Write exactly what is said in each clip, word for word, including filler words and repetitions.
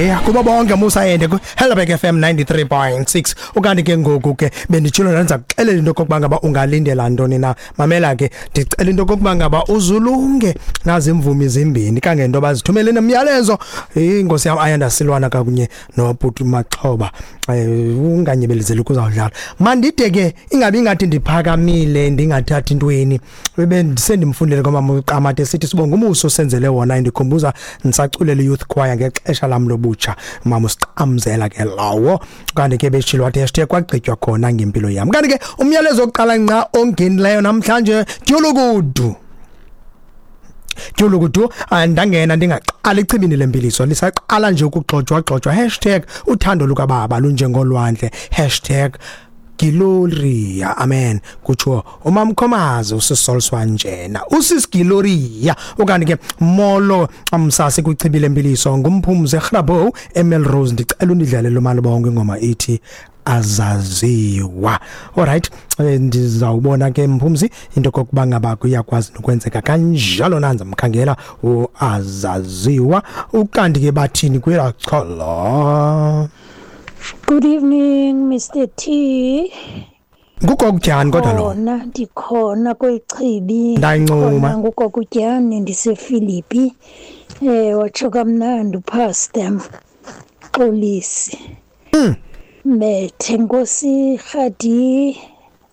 Yeah, kuba bonke Musa yende ku Helderberg F M ninety-three point six. Ukanti ke ngoku ke benditshilo ndanza kuxelela into kokuba ngaba ungalindela ntoni na. Mamela ke ndicela into kokuba ngaba uzulunge nazi imvumi zimbini kangento bazithumele nemiyalezo. Inkosi yam Ayanda Silwana kakunye noBhuti Maxhoba. Unganyebelezeli kuzawudlala. Mandide ke ingabi ingathi ndiphakamile ndingathathi intweni. Bendisendimfundele kwamama uQamate sithi sibonga umuso senzele wona ndikhumbuza ndisaculele youth choir ngexesha lam lobu butsha mama usicamzela ke lawo kanti ke beshilo wathi hashtag kwagqitywa khona ngempilo yami. Kanti ke umyalezo oqala nqa ongenileyo namhlanje Dyulukudu Dyulukudu andangena ndingaqala echibini lempiliso lisaqala nje ukugxojwa gxojwa hashtag uthando lukababa lunjengolwandle hashtag Gloria amen kutsho umamkhomazi usisolswa njena usisGloria. Okanye ke molo amsase kuchibile empiliso ngumphumze Grabo Emelrose ndicela undidlalele umalibongo ingoma ithi azaziwa. Alright, ndizawubona ke mphumzi into kokuba ngaba kuyakwazi nokwenzeka kanjalo nanza mkhangela uazaziwa. Ukanti ke bathini kwelachala. Good evening, Mister T. Ngugokutyani kodwa lo. Khona ndikhona kwechibi. Ndayincuma. Ngugokutyani ndiseFilipi. Eh watsho kamnandi uPastor Xolisi. Mm. Methe Nkosi Khadi,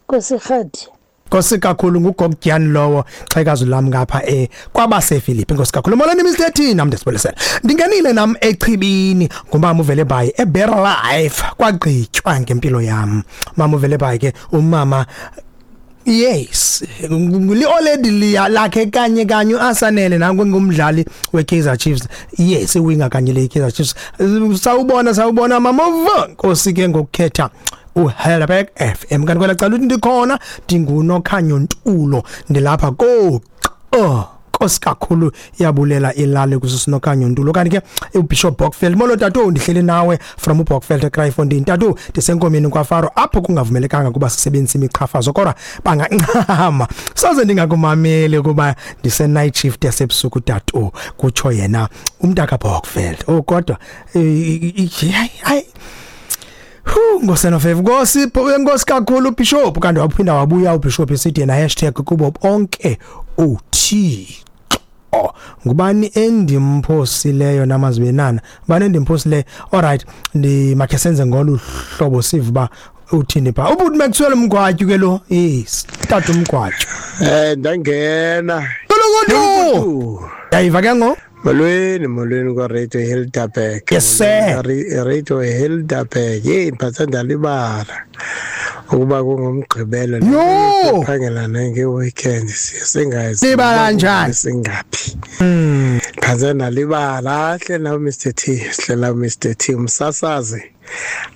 Nkosi Khadi. Nkosi kakhulu ngugokutyani lowo xhekazi lam ngapha eh kwabaseFilipi. Nkosi kakhulu. Molweni Mister T nam ndisibulisela. Ndingenile nam echibini ngumama uvele bayi eBetter Life kwagqitywa ngempilo yam. Mama uvele bayi ke umama yes li-oledi lakhe kanye kanye uAsanele nangu ngumdlali weKaizer Chiefs. Yes iwinga kanye le Kaizer Chiefs. Sawubona sawubona mama Nkosi ke ngokukhetha uHelderberg F M. Kanti kwela cala uthi ndikhona ndingunokhanyo Ntulo ndilapha ko oh Nkosi kakhulu yabulela ilali kusisinokhanyo Ntulo. Kanti ke uBishop Bokfeld molo tatu ndihleli nawe from uBokfeld eKraaifontein tatu ndisenkomeni kwaFaro apho kungavumelekanga kuba sisebenzise imiqhafazo kodwa bangancama soze ndingakumameli kuba ndise night shift yasebusuku tatu kutsho yena umntaka Bokfeld. Oh kodwa hayi Hu ngosenofevu Nkosi Nkosi kakhulu Bishop. Kanti waphinda wabuya uBishop esithi yena hashtag kubo bonke uThixo. Ngubani endimphosileyo namazibenana bani endimphosileyo? Alright ndi makhe senze ngolu hlobo sive ba uthini pha ubuthi Maxwell Mgwatyu ke lo. Yes tata Mgwatyu eh ndangena Kulukudu yayiva ke ngo. Molweni molweni kwa Radio Helderberg. Yes sir. Radio Helderberg. Hey mphatha ndalibala ukuba kungumgqibelo phangela nge weekend singazi. Libala kanjani? Singaphi? Mm. Phanze ndalibala hle na Mister T, hlela Mister T umsasazi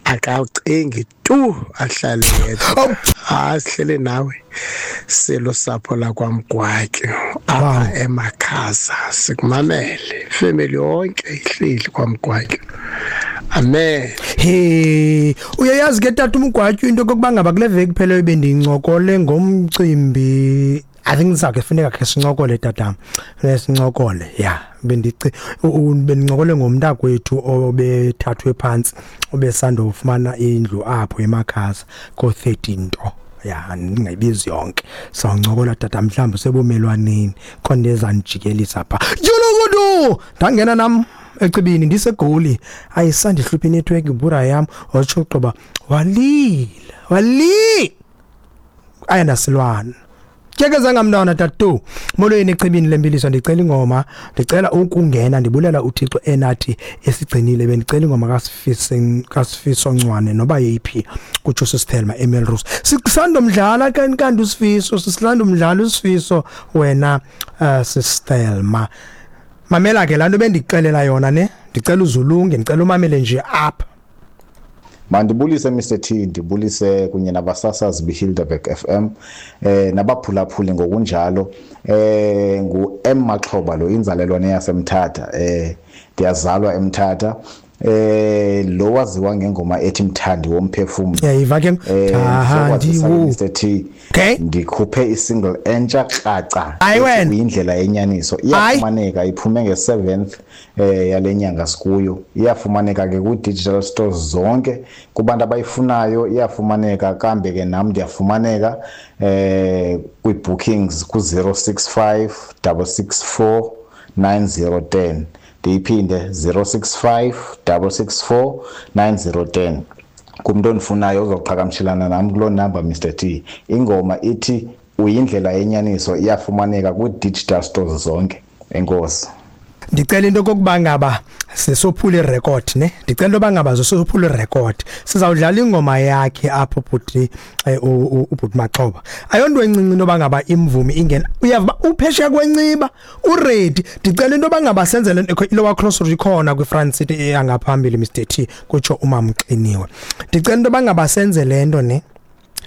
akawucingi tu ahlale yedwa. Ah sihlele nawe selo sapho la kwaMgwatyu apha eMakhaza sikumamele family yonke ihleli kwaMgwatyu. Amen. Hey uyayazi ke tata uMgwatyu into kokuba ngaba kule veki phela bendincokole ngomcimbi. I think sakhe funeka ke sincokole tata sincokole yeah bendici bendincokole ngomntakwethu obethathwe phansi obesanda ufumana indlu apho eMakhaza ko thirteen nto ya ningayibizi yonke sawuncokola tata mhlawumbe sebumelwaneni khona ezanijikelisa pha Dyulukudu ndangena nam ecibini ndisegoli ayisandihluphi network ibura yam watsho qoba walila wali Ayanda Silwana Tyekeza ngamntwana tatu molweni echibini lempiliso ndicela ingoma ndicela ukungena ndibulela uThixo enathi esigcinile bendicela ingoma kaSifiso kaSifiso Ncwane noba yeyiphi kutsho sisithelma Emelrose sisanda mdlala kanti kanti uSifiso sisilanda umdlala uSifiso wena uh, sisithelma mamela ke lanto bendixelela yona ne ndicela uzulunge ndicela umamele nje apha. Mandibulise Mister T ndibulise kunye nabasasazi beHilderberg F M eh nabaphulaphuli ngokunjalo eh ngu M Maxhoba lo inzalelwane yaseMthatha eh ndiyazalwa eMthatha Eh lo waziwa ngengoma ethi Mthandi womphefumulo. Yayiva ke Mthandi wo Mister T. Ndikhuphe isingle entsha kraca uyindlela yenyaniso. Iyafumaneka iphume nge seventh eh yalenyanga sikuyo. Iyafumaneka ke ku digital stores zonke kubantu abayifunayo iyafumaneka. Kambe ke nami ndiyafumaneka eh kwi bookings ku zero six five six six four nine zero ten. Ndiyiphinde zero six five six six four nine zero ten. Kumuntu onifunayo uzoqhagamshelana nami kuloo number Mister T. Ingoma ithi uyindlela yenyaniso iyafumaneka ku digital stores zonke. Enkosi. Ndicela into kokuba ngaba sisophula irecord ne. Ndicela into bangaba sisophula irecord. Sizawudlala ingoma yakhe apho bhuti uBhuti Maxhoba. Ayonto encinci into bangaba imvumi ingena. Uyava uphesheya kwenciba uready. Ndicela into bangaba senzele ilowa crossroad ikhona kwiFrance City eyangaphambili Mister T kutsho uMamxiniwe. Ndicela into bangaba senze lento ne.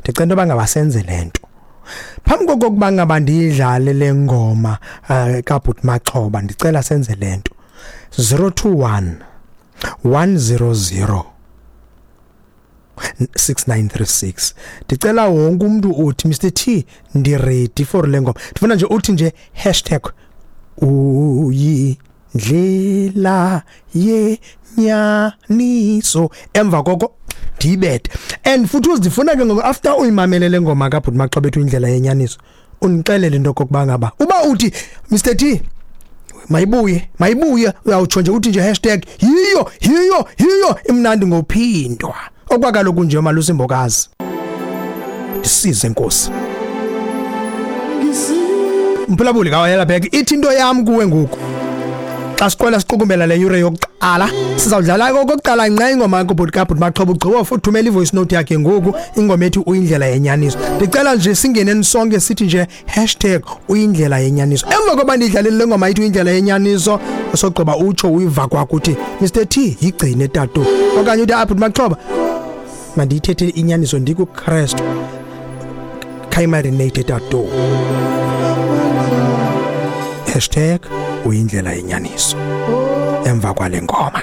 Ndicela into bangaba senze lento. Phambi kokuba ngaba ndidlale le ngoma kaBhuti Maxhoba ndicela senze lento. zero two one one zero zero six nine three six. Ndicela wonke umuntu uthi Mister T ndi ready for le ngoma. Ndifuna nje uthi nje hashtag uyindlela yenyaniso emva koko ndiyibethe. And futhi uzifuna ke ngoku after uyimamele le ngoma kaBhuti Maxhoba ethu indlela yenyaniso undixelele into kokuba ngaba uba uthi Mister T mayibuye mayibuye uyawutsho nje uthi nje hashtag yiyo yiyo yiyo imnandi ngophindwa okwakaloku nje Malusi Mbokazi. Ndisize Nkosi. Mphulaphuli kawayela bhek ithi into yam kuwe ngoku. Xa siqwela siqukumbela le yure yokuqala sizawudlala okokuqala nqa ingoma kaBhuti kaBhuti Maxhoba ugqiba futhi thumela ivoice note yakhe ngoku ingoma ethi uyindlela yenyaniso. Ndicela nje singeneni sonke sithi nje hashtag uyindlela yenyaniso. Emva koba ndidlalele le ngoma ithi uyindlela yenyaniso sogqiba utsho uyiva kwakho uthi Mister T yigcine tatu okanye uthi aBhuti Maxhoba mandiyithethe inyaniso ndikuKristu khayimarinate tatu. Hashtag uyindlela yenyaniso emva kwale ngoma.